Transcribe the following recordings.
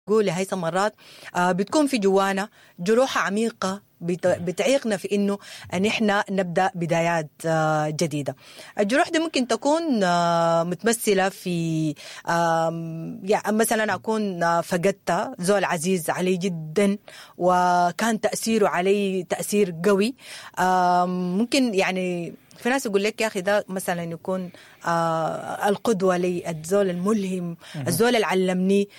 قول يا هيثم مرات بتكون في جوانا جروح عميقة بتعيقنا في انه نحن نبدا بدايات جديدة. الجروح دي ممكن تكون متمثلة في يعني مثلا اكون فقدت زول عزيز علي جدا وكان تاثيره علي تاثير قوي. ممكن يعني في ناس يقول لك يا اخي ده مثلا يكون القدوة لي، الزول الملهم، الزول اللي علمني،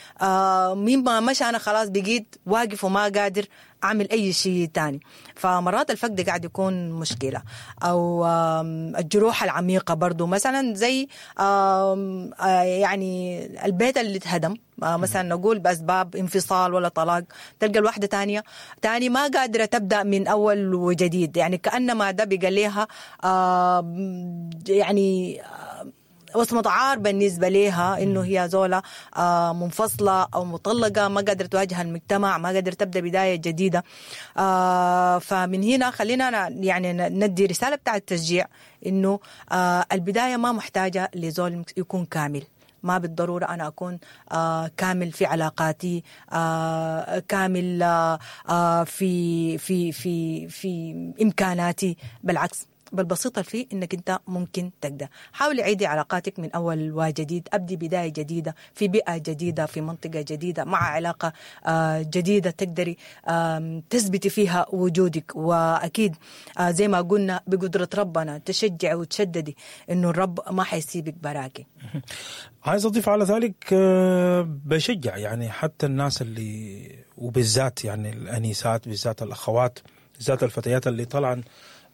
مين ما مشى انا خلاص بقيت واقف وما قادر اعمل اي شيء تاني. فمرات الفقد قاعد يكون مشكلة، او الجروح العميقة برضو مثلا زي يعني البيت اللي اتهدم مثلا نقول باسباب انفصال ولا طلاق، تلقى الواحدة تاني ما قادرة تبدا من اول وجديد، يعني كانما ده بقى لها يعني وصمة عار بالنسبة لها إنه هي زولة منفصلة أو مطلقة، ما قادرة تواجه المجتمع، ما قادرة تبدأ بداية جديدة. فمن هنا خلينا يعني ندي رسالة بتاعة تشجيع إنه البداية ما محتاجة لزول يكون كامل، ما بالضرورة أنا أكون كامل في علاقاتي، كامل في في في في إمكاناتي، بالعكس بالبسيطة فيه إنك أنت ممكن تقدر. حاولي عيدي علاقاتك من أول وجديد، أبدي بداية جديدة في بيئة جديدة، في منطقة جديدة، مع علاقة جديدة تقدري تثبتي فيها وجودك. وأكيد زي ما قلنا بقدرة ربنا تشجعي وتشددي إنه الرب ما حيسيبك براكي. عايز أضيف على ذلك، بشجع يعني حتى الناس اللي وبالذات يعني الأنيسات، بالذات الأخوات، بالذات الفتيات اللي طلعن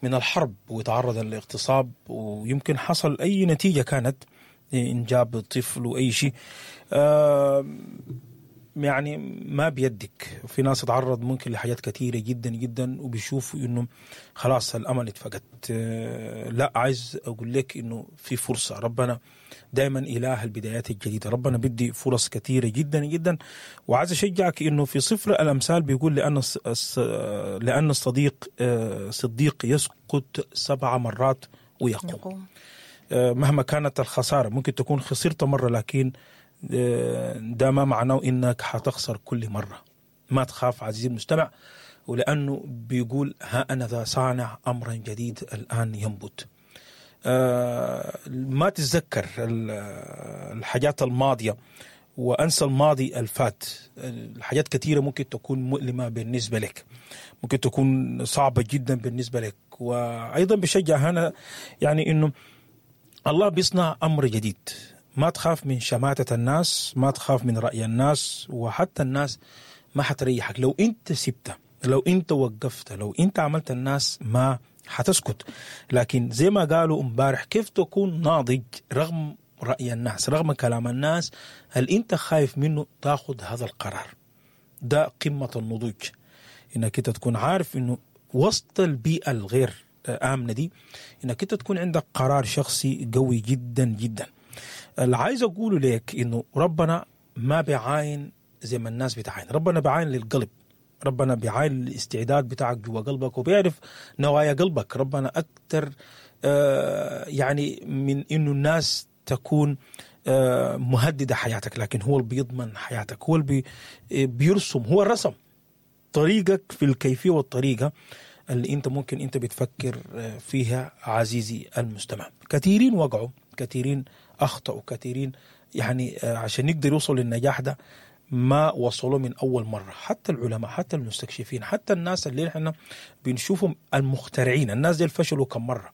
من الحرب وتعرض للاغتصاب ويمكن حصل أي نتيجة كانت إنجاب طفل وأي شيء، يعني ما بيدك. في ناس تتعرض ممكن لحاجات كثيرة جدا جدا وبيشوفوا إنه خلاص الأمل اتفقد. لا، عايز أقول لك إنه في فرصة. ربنا دايما إله البدايات الجديدة، ربنا بدي فرص كثيرة جدا جدا. وعايز أشجعك إنه في سفر الأمثال بيقول لأن الصديق صديق يسقط 7 مرات ويقوم. مهما كانت الخسارة، ممكن تكون خسرت مرة لكن ده ما معناه إنك حتخسر كل مرة. ما تخاف عزيزي المستمع، ولأنه بيقول ها أنا ذا صانع أمرا جديد الآن ينبت. ما تتذكر الحاجات الماضية وأنسى الماضي الفات. الحاجات كثيرة ممكن تكون مؤلمة بالنسبة لك، ممكن تكون صعبة جدا بالنسبة لك. وأيضا بشجع هنا يعني إنه الله بيصنع أمر جديد. ما تخاف من شماتة الناس، ما تخاف من رأي الناس، وحتى الناس ما حتريحك لو أنت سبته، لو أنت وقفت، لو أنت عملت الناس ما حتسكت. لكن زي ما قالوا امبارح، كيف تكون ناضج رغم رأي الناس، رغم كلام الناس؟ هل أنت خايف منه تاخذ هذا القرار؟ ده قمة النضوج، إنك أنت تكون عارف إنه وسط البيئة الغير آمنة دي إنك أنت تكون عندك قرار شخصي قوي جدا جدا. اللي عايز أقوله لك إنه ربنا ما بيعاين زي ما الناس بتعاين، ربنا بيعاين للقلب، ربنا بيعاين الاستعداد بتاعك جوا قلبك وبيعرف نوايا قلبك. ربنا أكتر يعني من إنه الناس تكون مهددة حياتك، لكن هو اللي بيضمن حياتك، هو اللي بيرسم، هو الرسم طريقك في الكيفية والطريقة اللي أنت ممكن أنت بتفكر فيها عزيزي المستمع. كثيرين وقعوا، كثيرين أخطأوا، كثيرين يعني عشان يقدر يوصل للنجاح ده ما وصلوا من أول مرة. حتى العلماء، حتى المستكشفين، حتى الناس اللي احنا بنشوفهم المخترعين، الناس دي فشلوا كم مرة.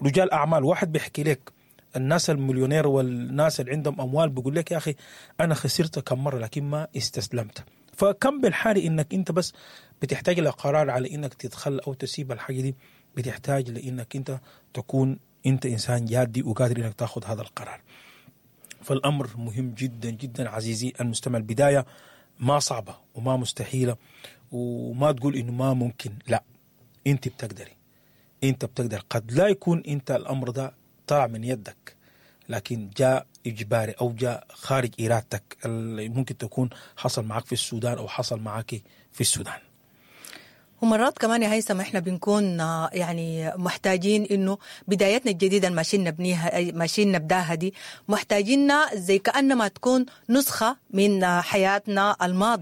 رجال أعمال، واحد بيحكي لك الناس المليونير والناس اللي عندهم أموال بيقول لك يا أخي أنا خسرت كم مرة لكن ما استسلمت. فكم بالحالي إنك أنت بس بتحتاج لقرار على إنك تتخلى أو تسيب الحاجة دي، بتحتاج لإنك أنت تكون أنت إنسان جادي وقادر إنك تأخذ هذا القرار. فالأمر مهم جدا جدا عزيزي المستمع. البداية ما صعبة وما مستحيلة، وما تقول إنه ما ممكن، لا، أنت بتقدري، أنت بتقدر. قد لا يكون أنت الأمر ده طلع من يدك، لكن جاء إجباري أو جاء خارج إرادتك، اللي ممكن تكون حصل معك في السودان أو حصل معك في السودان. ومرات كمان يا هيثم احنا بنكون يعني محتاجين انه بدايتنا الجديدة اللي ماشيين نبنيها، ماشيين نبداها دي، محتاجينها زي كانما تكون نسخه من حياتنا الماضية.